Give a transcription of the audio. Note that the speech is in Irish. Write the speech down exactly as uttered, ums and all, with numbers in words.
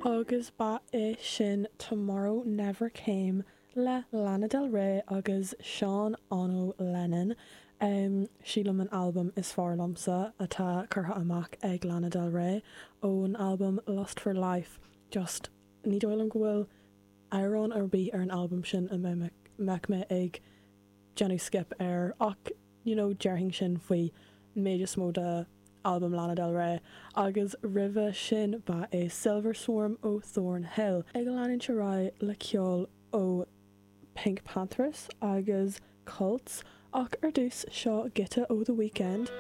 Agus ba é sin Tomorrow Never Came le Lana Del Rey agus Sean Ono Lennon. Um, sílim an albam is fearr liomsa atá curtha amach ag Lana Del Rey ón albam Lust for Life just ní dóigh liom go bhfuil amhrán ar bith ar an albam sin a mbeadh mé ag déanamh skip air ach you know, déarfainn sin faoi méid is mó de albam Lana Del Rey agus roimhe sin ba é Silver Swarm ó Thornhill. Ag leanúint ar aghaidh le ceol ó PinkPantheress agus Cults ach ar dtús seo giota ó The Weeknd.